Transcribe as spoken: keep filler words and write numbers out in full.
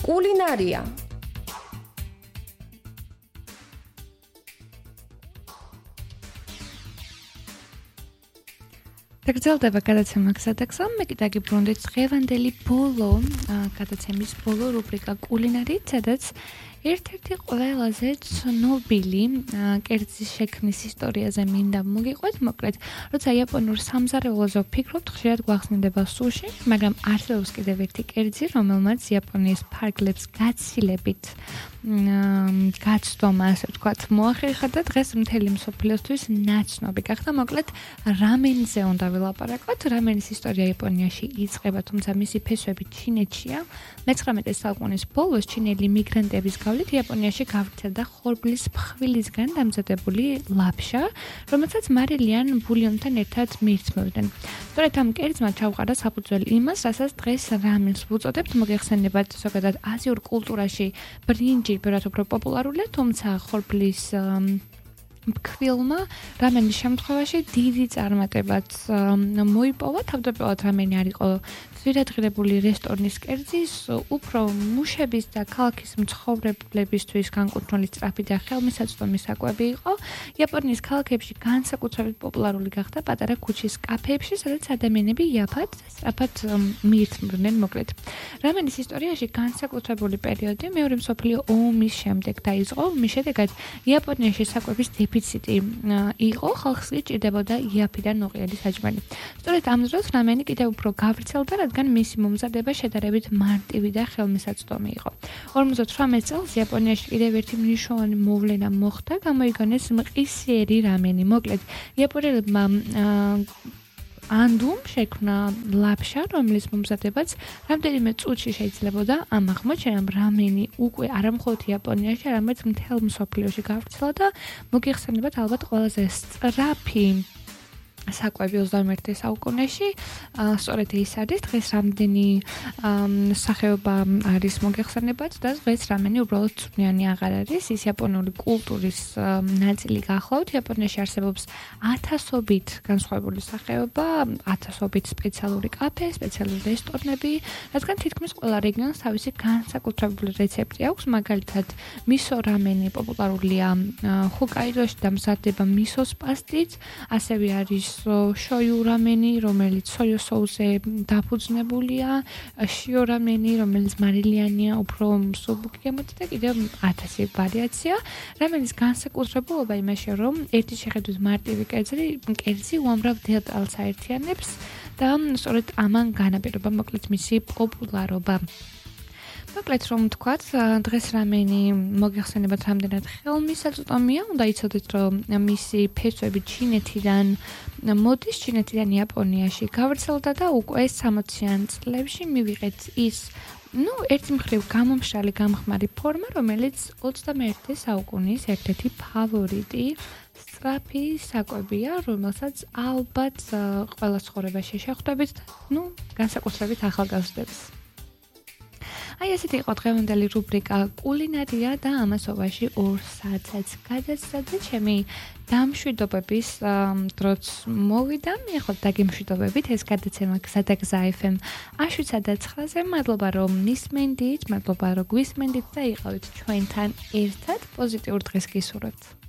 კულინარია. დაგრძელდება გადაცემა გზადაგზა, მე კიდე გიბრუნდით დღევანდელი ბოლო გადაცემის ბოლო რუბრიკა კულინარით, სადაც ერთ-ერთი ყველაზე ცნობილი კერძის შექმნის ისტორიაზე მინდა მოგიყვეთ, მოკლედ, როცა იაპონურ სამზარეულოზე ვფიქრობთ, ხშირად გვახსენდება სუში, მაგრამ არსებობს კიდევ ერთი კერძი, რომელმაც იაპონიის ფარგლებს გაცილებით გაცდომა, ასე ვთქვათ, მოახერხა და დღეს მთელი მსოფლიოსთვის ნაცნობი გახდა. მოკლედ, რამენზე უნდა ვილაპარაკოთ. რამენის ისტორია იაპონიაში იწყება, თუმცა მისი ფესვები ჩინეთშია. მეცხრამეტე საუკუნის ბოლოს ჩინელი მიგრანტების გავლით იაპონიაში გავრცელდა ხორბლის ფხვილისგან დამზადებული ლაფშა, რომელსაც მარილიან ბულიონთან ერთად მიირთმევდნენ. სწორედ ამ კერძმა ჩაუყარა საფუძველი იმას, რასაც დღეს რამენს ვუწოდებთ, მოგეხსენებათ ზოგადად აზიურ კულტურაში ბრინჯი ბევრად უფრო პოპულარულია, თუმცა ხორბლის ფქვილმა რამენის შემთხვევაში დიდი წარმატებაც მოიპოვა. თავდაპირველად რამენი არ იყო ძვირადღირებული რესტორნის კერძის, უფრო მუშების და ქალაქის მცხოვრებლებისთვის განკუთვნილი სწრაფი და ხელმისაწვდომი საკვები იყო. იაპონიის ქალაქებში განსაკუთრებით პოპულარული გახდა პატარა ქუჩის კაფეებში, სადაც ადამიანები იაფად და სწრაფად მიირთმევდნენ. მოკლედ, რამენის ისტორიაში განსაკუთრებული პერიოდი მეორე მსოფლიო ომის შემდეგ დაიწყო. მის შედეგად იაპონიაში საკვების დეფიციტი იყო, ხალხს სჭირდებოდა იაფი და ნოყიერი საჭმელი. სწორედ ამ დროს რამენი კიდევ უფრო გავრცელდა, რადგან მისი მომზადება შედარებით მარტივი და ხელმისაწვდომი იყო. ორმოცდათვრამეტ წელს იაპონიაში კიდევ ერთი მნიშვნელოვანი მოვლენა მოხდა, გამოიგონეს მყისიერი რამენი. მოკლედ, იაპონელებმა ანდუმ შექმნა ლაფშა, რომლის მომზადებაც რამდენიმე წუთში შეიძლებოდა. ამ აღმოჩენამ რამენი უკვე არა მხოლოდ იაპონიაში, არამედ მთელ მსოფლიოში გავრცელა და მოგიხსენებათ ალბათ ყველაზე სწრაფი საკვები ოცდამეერთე საუკუნეში. სწორედ ის არის დღეს რამდენი სახეობა არის მოგეხსენებათ და დღეს რამენი უბრალოდ წვნიანი აღარ არის. ის იაპონური კულტურის ნაწილი გახლავთ. იაპონიაში არსებობს ათასობით განსხვავებული სახეობა, ათასობით სპეციალური კაფე, სპეციალური რესტორნები, რადგან თითქმის ყველა რეგიონს თავისი განსაკუთრებული რეცეპტი აქვს. მაგალითად, მისო რამენი პოპულარულია ჰოკაიდოში და მზადდება მისოს პასტით, ასევე არის შოიუ რამენი, რომელიც სოიო სოუსზე დაფუძნებულია, შიო რამენი, რომელიც მარილიანია, უფრო მსუბუქი გამოდის და კიდევ ათასი ვარიაცია. რამენის განსაკუთრებულობა იმაში, რომ ერთი შეხედვით მარტივი კერძი, კერძი უამრავ დეტალს აერთიანებს და სწორედ ამან განაპირობა მოკლედ მისი პოპულარობა. მოკლედ რომ ვთქვათ, დღეს რამენი მოგეხსენებათ რამდენად ხელმისაწვდომია, უნდა იცოდეთ, რომ მისი ფესვები ჩინეთიდან მოდის, ჩინეთიდან იაპონიაში გავრცელდა და უკვე სამოციან წლებში მივიღეთ ის, ну, ერთი მხრივ გამომშრალი გამხმარი ფორმა, რომელიც ოცდამეერთე საუკუნის ერთ-ერთი ფავორიტი სწრაფი საკვებია, რომელსაც ალბათ ყველა ცხოვრებაში შეხვდებით, ну, განსაკუთრებით ახალგაზრდებს. აი ესეთი იყო დღევანდელი რუბრიკა კულინარია და ამასობაში ორ საათსაც გადაცდა და ჩემი დამშვიდობების დროც მოვიდა. მე ხო დაგემშვიდობებით ეს გადაცემა გზადაგზა ეფ ემ შვიდსა და ცხრაზე. მადლობა რომ მისმენდით, მადლობა რომ გვისმენდით და იყავით ჩვენთან ერთად. პოზიტიურ დღეს გისურვებთ.